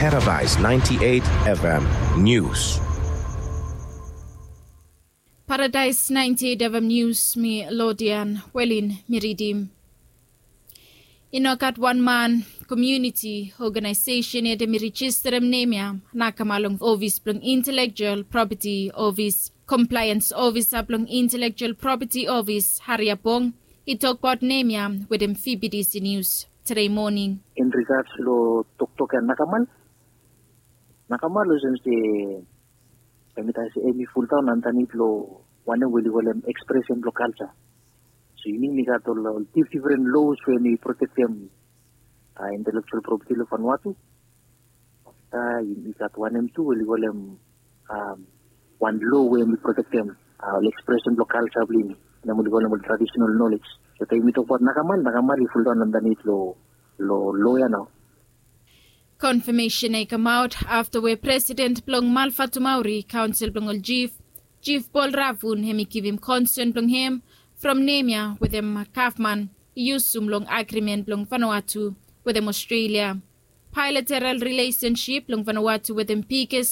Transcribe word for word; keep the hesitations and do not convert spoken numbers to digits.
Paradise ninety-eight F M News. Paradise ninety-eight F M News, mi Lodian Welin mi ridim. I no gat wan man, komuniti, ogenaesesen yet hemi rejisterem nem ya nakama long ofis blong Intellectual Property Office. Compliance Officer blong Intellectual Property Office, Harry Abong, i tokbaot nem ya wetem F B D C News tede moning. In regards lo toktok ya nakamal, nakamal olsem se hemi tok se hemi fuldaon andanit lo wanem we oli kolem expression blo culture. So yumi gat ol dif- different laws we hemi protektem intellectual property lo Vanuatu. Afta yumi gat wanem tu we oli kolem wan law we hemi protektem ol expression blo culture blo yumi, nem oli kolem ol traditional knowledge. So taem yumi tokbaot nakamal, nakamal i fuldaon andanit lo lo law ya nao. Konfemesen ya i kamaot afta we presiden blong Malfatumauri Kaonsel blong ol Jif, Jif Paul Ravun, hemi givim konsen blong hem from nem ya wetem gavman i yusum long agrimen blong Vanuatu wetem Ostrelia. Bailateral rilesensip blong Vanuatu wetem biges